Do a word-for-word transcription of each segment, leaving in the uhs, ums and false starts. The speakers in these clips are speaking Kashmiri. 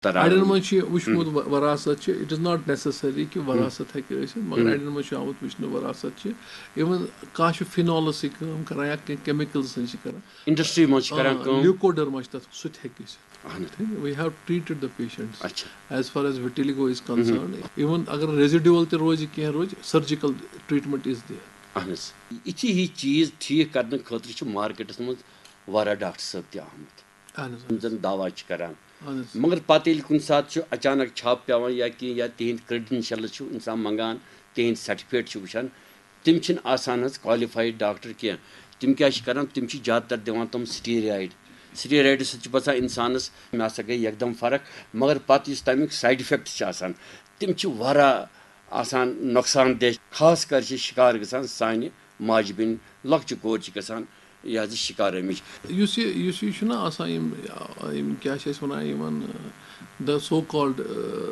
تران۔ اَڑٮ۪ن منٛز چھُ یہِ وٕچھمُت و-، وراثت چھِ، it is not necessary کہِ وراثت ہیٚکہِ ٲسِتھ، مگر اَڑٮ۪ن منٛز چھُ آمُت وٕچھنہٕ وراثت چھِ، even کانٛہہ چھُ فِنالَس سۭتۍ کٲم کَران یا کینٛہہ کیمِکلزَن چھِ کَران۔ انڈسٹری منٛز چھِ کَران کٲم۔ لیوکوڈرما چھِ تَتھ، سُہ تہِ ہیٚکہِ ٲسِتھ۔ اہن حظ۔ We have treated the patient اچھا۔ As far as vitiligo is concerned, even اگر ریزیڈیول تہِ روزِ کینٛہہ روزِ، surgical treatment is there۔ اہن حظ۔ یِتھی ہی چیٖز ٹھیٖک کرنہٕ خٲطرٕ چھِ مارکیٹس منٛز واریاہ ڈاکٹر صٲب تہِ آمٕتۍ، اہن حظ، یِم زن دوا چھِ کران۔ اہن حظ۔ مگر پتہٕ ییٚلہِ کُنہِ ساتہٕ چھُ اچانک چھاپہٕ پٮ۪وان یا کینٛہہ، یا تِہنٛدۍ کریڈنشلز چھُ انسان منٛگان، تِہنٛدۍ سرٹیفکیٹ چھُ وٕچھان، تِم چھِنہٕ آسان حظ کوالیفایڈ ڈاکٹر کینٛہہ۔ تِم کیٛاہ چھِ کران؟ تِم چھِ زیادٕ تر دِوان تِم سٹیرایڈ۔ سٹیرایڈٕ سۭتۍ چھِ باسان انسانس، مےٚ ہسا گٔے یکدم فرق، مگر پتہٕ یُس تمیُک سایڈ افیکٹ چھِ آسان، تِم چھِ واریاہ آسان نۄقصان دہ۔ خاص کر چھِ شکار گژھان سانہِ ماجہِ بیٚنہِ، لۄکچہِ کورِ چھِ گژھان یہِ حظ یہِ شکار اَمِچ۔ یُس یہِ یُس یہِ چھُنہ آسان، یِم یِم کیٛاہ چھِ أسۍ وَنان یِمن، the so called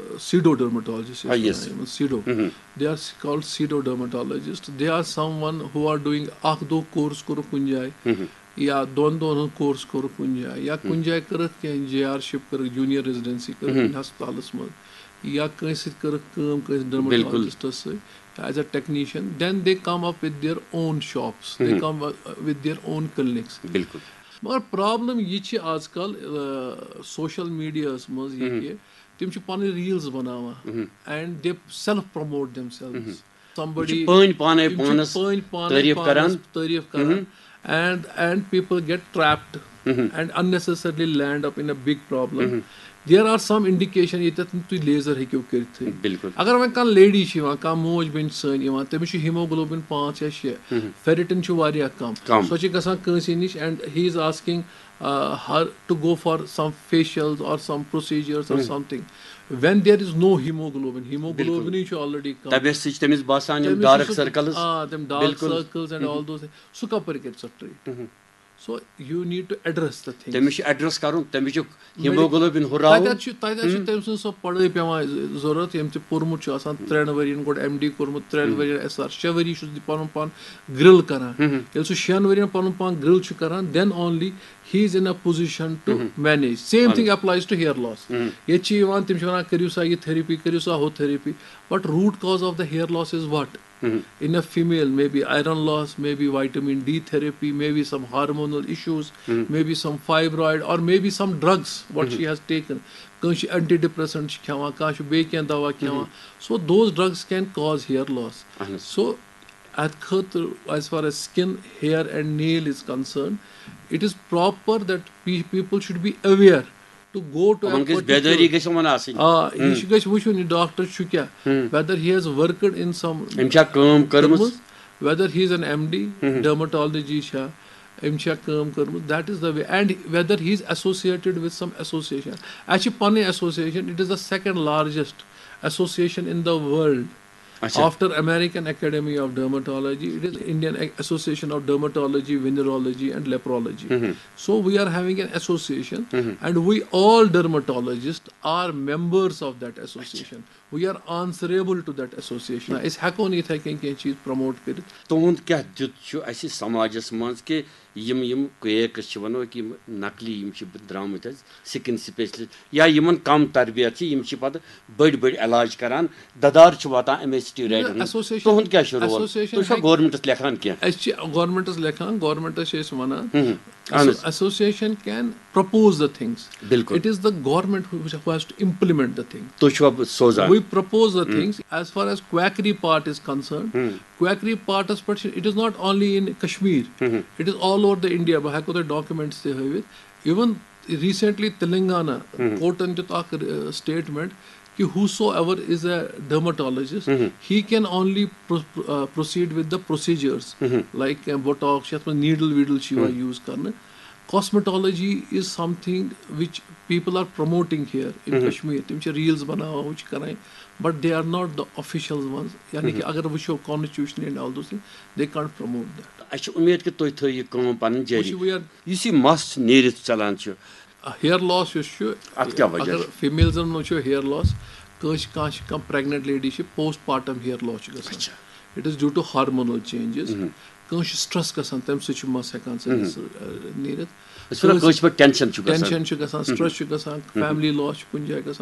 pseudo dermatologist، آ، yes۔ یِمن pseudo، they are called pseudo dermatologist، they are someone who are doing، اکھ دۄہ کورس کوٚرُکھ کُنہِ جایہِ یا دۄن دۄہن ہُنٛد کورس کوٚرُکھ کُنہِ جایہِ یا کُنہِ جایہِ کٔرٕکھ کینٛہہ، جے آر شپ کٔرٕکھ، جونیئر ریزیڈنسی کٔرٕکھ کُنہِ ہسپتالس منٛز، یا کٲنٛسہِ سۭتۍ کٔرٕکھ کٲم، کٲنٛسہِ ڈرمٹالجسٹس سۭتۍ، as a technician, then they come up with their own shops, they come with their own clinics۔ بالکل۔ مگر پرابلم یہِ چھِ آز کل سوشل میڈیاہس منٛز یہِ کہِ تِم چھِ پنٕنۍ ریلز بناوان، and they self promote themselves۔ تِم چھِ پٲنۍ پانے پانس تعریف کران۔ تعریف کران، and and people get trapped and unnecessarily land up in a big problem۔ There are some indication ییٚتٮ۪تھ نہٕ تُہۍ لیزر ہیٚکِو کٔرِتھٕے۔ بالکل۔ اگر وۄنۍ کانٛہہ لیڈی چھِ یِوان، کانٛہہ موج بیٚنہِ چھِ سٲنۍ یِوان، تٔمِس چھُ ہیموگلوبن پانٛژھ یا شےٚ، فیرٹن چھُ واریاہ کم۔ کم۔ سۄ چھِ گژھان کٲنٛسہِ نِش and he is asking her to go for some facials or some procedures or something when there is no hemoglobin۔ ہیموگلوبنٕے چھُ already کم۔ تَمہِ سۭتۍ چھِ تٔمِس باسان یِم تٔمِس ڈارک چھُ سُہ، سرکلز۔ آ، تِم dark circles and all those things۔ سُہ کپٲرۍ کرِ سۄ treat? So you need to address the thing۔ تٔمِس چھُ ایڈریس کرُن، تٔمِس چھُ ہیموگلوبن ہُراوُن۔ تَتٮ۪تھ چھُ تَتٮ۪تھ چھُ تٔمۍ سٕنٛز سۄ پڑٲے پٮ۪وان ضروٗرت، ییٚمۍ تہِ پوٚرمُت چھُ آسان، ترٛٮ۪ن ؤرین گۄڈٕ ایم ڈی کوٚرمُت، ترٛٮ۪ن ؤرین ایس آر، شےٚ ؤری چھُ سُہ پانُن پان گرل کران۔ ییٚلہِ سُہ شٮ۪ن ؤرین پانُن پان گرل چھُ کران، then only he is in a position to manage۔ Same thing applies to hair loss۔ ییٚتہِ چھِ یِوان، تِم چھِ وَنان، کٔرِو سا یہِ تھیرپی، کٔرِو سا ہُہ therapy, but root cause of the hair loss is what؟ In a female, maybe iron loss, maybe vitamin D therapy, maybe some hormonal issues, maybe some fibroid, or maybe some drugs what she has taken۔ کٲنٛسہِ چھِ اینٹی ڈپریسنٹ چھِ کھٮ۪وان، کانٛہہ چھُ بیٚیہِ کینٛہہ دوا کھٮ۪وان۔ So those drugs can cause hair loss۔ اہن حظ۔ So اَتھ خٲطرٕ، as far as skin, hair and nail is concerned, it is proper that pe- people should be aware to go to a یِمن گژھِ particular بیدٲری گژھِ یِمن آسٕنۍ۔ آ، یہِ چھُ، گژھِ وٕچھُن یہِ ڈاکٹر چھُ کیٛاہ، whether he has worked in some أمۍ چھا کٲم کٔرمٕژ؟ whether he is an M D, dermatology چھا، أمۍ چھا کٲم کٔرمٕژ، that is the way, and whether he is associated with some association۔ اَسہِ چھِ پَنٕنۍ association, it is the second largest association in the world اچھا۔ after American Academy of Dermatology, it is Indian Association of Dermatology, Venereology and Leprology۔ So we are having an association, and we all dermatologists are members of that association۔ We are answerable to that association۔ أسۍ ہٮ۪کو نہٕ یِتھَے کٔنۍ کینٛہہ چیٖز پرٛموٹ کٔرِتھ۔ تُہُنٛد کیٛاہ دیُت چھُ اَسہِ سماجس منٛز کہِ یِم یِم کریکس چھِ، وَنو کہِ یِم نقلی یِم چھِ درٛامٕتۍ حظ، سِکِن سپیشلسٹ یا یِمن کم تربیت چھِ، یِم چھِ پتہٕ بٔڑۍ بٔڑۍ علاج کران، دَدار چھُ واتان اَمے سٹیرایڈن ہُنٛد۔ ایسوسیشن تُہُنٛد کیٛاہ چھُ رول؟ ایسوسیشن تُہۍ چھِوا ہیٚکہِ گورمنٹس لیکھان کینٛہہ؟ أسۍ چھِ گورمنٹس لیکھان، گورمنٹس چھِ أسۍ وَنان، اہن حظ۔ association can propose the things۔ بالکل۔ It is the government who has to implement the thing۔ تُہۍ چھِوا سوزان؟ We propose the things as far as quackery part is concerned۔ Quackery parts پٮ۪ٹھ چھِ، it is not only in Kashmir, it is all over the India۔ بہٕ ہٮ۪کو تۄہہِ ڈاکومینٹس تہِ ہٲوِتھ۔ Even recently تِلنگانہ کورٹن دیُت اکھ سٹیٹمنٹ کہِ whosoever is a dermatologist, he can only pro- uh, proceed with the procedures like Botox, یتھ منٛز نیڈل ویڈل چھِ یِوان یوٗز کرنہٕ۔ Cosmetology is something which people are promoting here in Kashmir۔ تِم چھِ ریلز بناوان، ہُہ چھِ کران، but they are not the official ones۔ یعنی کہِ اگر وٕچھو constitutionally and all those things, they can't promote that۔ اَسہِ چھِ اُمید کہِ تُہۍ تھٲیِو یہِ کٲم پَنٕنۍ جٲری۔ وٕچھِو، we are یُس یہِ مَس نیٖرِتھ ژَلان چھُ، hair loss یُس چھُ، اَتھ کیٛاہ وجہ اگر چھُ؟ فیمیلزن منٛز چھُ hair loss، کٲنٛسہِ، کانٛہہ چھِ، کانٛہہ پریگننٹ لیڈی چھِ، پوسٹ پارٹم hair loss چھُ گژھان۔ اچھا۔ It is due to hormonal changes۔ کٲنٛسہِ چھُ سٹریس گژھان، تَمہِ سۭتۍ چھُ مَس ہٮ۪کان ژٔلِتھ، سُہ، uh, نیٖرِتھ۔ أسۍ وَنو کٲنٛسہِ پٮ۪ٹھ ٹینشن چھُ گژھان۔ ٹینشن چھُ گژھان، سٹریس چھُ گژھان، فیملی لاس چھُ کُنہِ جایہِ گژھان،